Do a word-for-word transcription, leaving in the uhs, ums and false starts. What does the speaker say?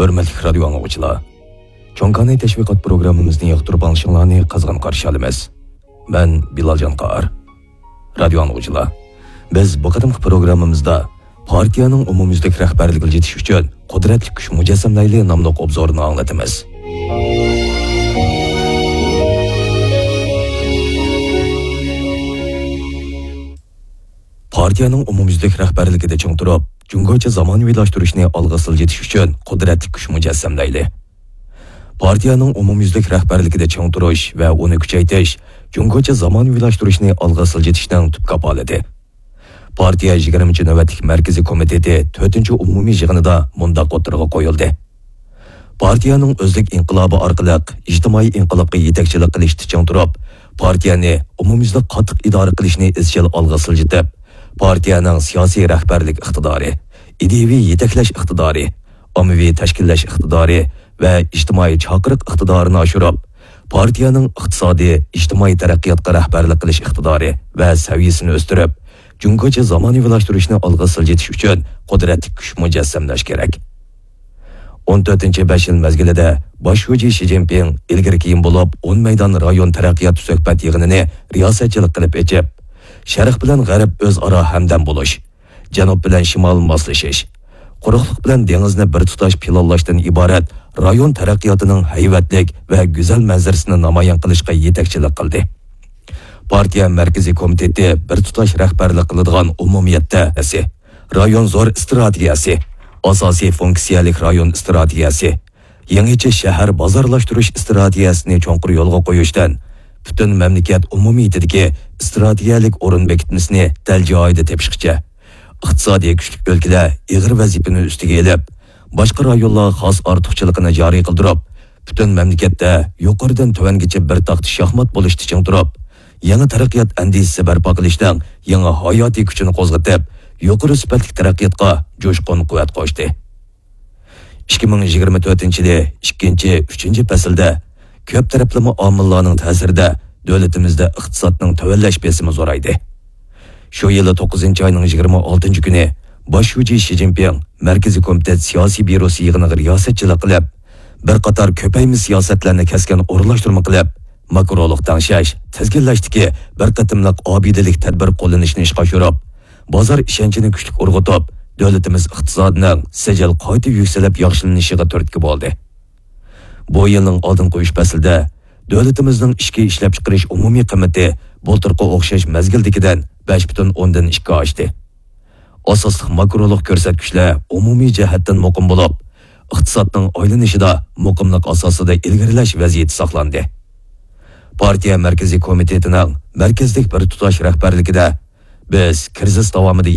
ھۆرمەتلىك رادىيو ئاڭلىغۇچىلار، چوڭ كاناي تەشۋىقات پروگراممىمىزنى ياقتۇرۇپ ئاڭلىشىڭلارنى قىزغىن قارشى ئالىمىز. مەن بىلالجان قائار. رادىيو ئاڭلىغۇچىلار، بىز بۇ قېتىمقى پروگراممىمىزدا پارتىيەنىڭ ئومۇميۈزلۈك رەھبەرلىكىگە يېتىش ئۈچۈن قۇدرەتلىك كۈچ مۇجەسسەملەيلى ناملىق ئوبزورنى ئاڭلىتىمىز. پارتىيەنىڭ ئومۇميۈزلۈك رەھبەرلىكىدە چىڭ تۇرۇپ، جۇڭگوچە زامانىۋىلاشتۇرۇشنى ئالغا سىلجىتىش ئۈچۈن قۇدرەتلىك كۈچ مۇجەسسەملەيلى. پارتىيەنىڭ ئومۇميۈزلۈك رەھبەرلىكىدە چىڭ تۇرۇش ۋە ئۇنى كۈچەيتىش جۇڭگوچە زامانىۋىلاشتۇرۇشنى ئالغا سىلجىتىشنىڭ تۈپ كاپالىتى. پارتىيە يىگىرمىنچى نۆۋەتلىك مەركىزىي كومىتېتى تۆتىنچى ئومۇمىي يىغىنىدا مۇنداق ئوتتۇرىغا قويۇلدى: پارتىيەنىڭ ئۆزلۈك ئىنقىلابى ئارقىلىق ئىجتىمائىي ئىنقىلابقا يېتەكچىلىك قىلىشتا چىڭ تۇرۇپ، پارتىيەنى ئومۇميۈزلۈك قاتتىق ئىدارە قىلىشنى ئىزچىل ئالغا سىلجىتىپ، پارتىيەنىڭ سىياسىي رەھبەرلىك ئىقتىدارى، ئىدىيەۋى يېتەكلەش ئىقتىدارى، ئاممىۋى تەشكىللەش ئىقتىدارى ۋە ئىجتىمائىي چاقىرىق ئىقتىدارىنى ئاشۇرۇپ، پارتىيەنىڭ ئىقتىسادىي، ئىجتىمائىي تەرەققىياتقا رەھبەرلىك قىلىش ئىقتىدارى ۋە سەۋىيەسىنى ئۆستۈرۈپ، جۇڭگوچە زامانىۋىلاشتۇرۇشنى ئالغا سىلجىتىش ئۈچۈن قۇدرەتلىك كۈچ مۇجەسسەملەش كېرەك. ئون تۆتىنچى بەش يىل مەزگىلىدە باش شۇجى شى جىنپىڭ ئىلگىرى كېيىن بولۇپ ئون مەيدان رايون تەرەققىيات سۆھبەت يىغىنىنى رىياسەتچىلىك قىلىپ ئېچىپ، شەرق بىلەن غەرب ئۆزئارا ھەمدەم بولۇش، جەنۇب بىلەن شىمال ماسلىشىش، قۇرۇقلۇق بىلەن دېڭىزنى بىر تۇتاش پىلانلاشتىن ئىبارەت رايون تەرەققىياتىنىڭ ھەيۋەتلىك ۋە گۈزەل مەنزىرىسىنى نامايان قىلىشقا يېتەكچىلىك قىلدى. پارتىيە مەركىزىي كومىتېتى بىر تۇتاش رەھبەرلىك قىلىدىغان ئومۇمىيەتتە رايون زور ئىستراتېگىيەسى، ئاساسىي فۇنكسىيەلىك رايون ئىستراتېگىيەسى، يېڭىچە شەھەر بازارلاشتۇرۇش ئىستراتېگىيەسىنى چوڭقۇر يولغا قويۇشتىن، پۈتۈن مەملىكەت ئومۇمىيىتىدىكى ئىستراتېگىيەلىك ئورۇن بېكىتمىسىنى دەل جايىدا تېپىشقىچە، ئىقتىسادىي كۈچلۈك ئۆلكىلەر ئېغىر ۋەزىپىنى ئۈستىگە ئېلىپ، باشقا رايونلار خاس ئارتۇقچىلىقىنى جارى قىلدۇرۇپ، پۈتۈن مەملىكەتتە يۇقىرىدىن تۆۋەنگىچە بىر تاختا شاھمات بولۇشتا چىڭ تۇرۇپ، يېڭى تەرەققىيات ئەندىزىسى بەرپا قىلىشنىڭ يېڭى ھاياتىي كۈچىنى قوزغىتىپ، يۇقىرى سۈپەتلىك تەرەققىياتقا جۇشقۇن قۇۋۋەت قوشتى. ئىككى مىڭ يىگىرمە تۆتىنچى يىلى ئىككىنچى، ئۈچىنچى پەسىلدە كۆپ تەرەپلىمە ئامىللارنىڭ تەسىرىدە دۆلىتىمىزدە ئىقتىسادنىڭ تۆۋەنلەش بېسىمى زورايدى. شۇ يىلى توققۇزىنچى ئاينىڭ يىگىرمە ئالتىنچى كۈنى باش شۇجى شى جىنپىڭ مەركىزىي كومىتېت سىياسىي بيۇروسى يىغىنىغا رىياسەتچىلىك قىلىپ، بىر قاتار كۆپەيمە سىياسەتلەرنى كەسكىن ئورۇنلاشتۇرما قىلىپ، ماكرولۇق تەڭشەش، تىزگىنلەشتىكى بىر قېتىملىق ئابىدىلىك تەدبىر قوللىنىشنى ئىشقا ئاشۇرۇپ، بازار ئىشەنچىنى كۈچلۈك ئۇرغۇتۇپ، دۆلىتىمىز ئىقتىسادىنىڭ سىجىل قايتا يۈكسىلىپ ياخشىلىنىشىغا تۈرتكە بولدى. بۇ يىلنىڭ ئالدىنقى ئۈچ پەسلىدە دۆلىتىمىزنىڭ ئىچكى ئىشلەپچىقىرىش ئومۇمىي قىممىتى بۇلتۇرقى ئوخشاش مەزگىلدىكىدىن بەش پۈتۈن ئوندىن ئىككى ئاشتى. ئاساسلىق ماكرولۇق كۆرسەتكۈچلەر ئومۇمىي جەھەتتىن مۇقىم بولۇپ، ئىقتىسادنىڭ ئايلىنىشىدا مۇقىملىق ئاساسىدا ئىلگىرىلەش ۋەزىيىتى ساقلاندى. پارتىيە مەركىزىي كومىتېتىنىڭ مەركەزلىك بىر تۇتاش رەھبەرلىكىدە بىز كىرىزىس داۋامىدا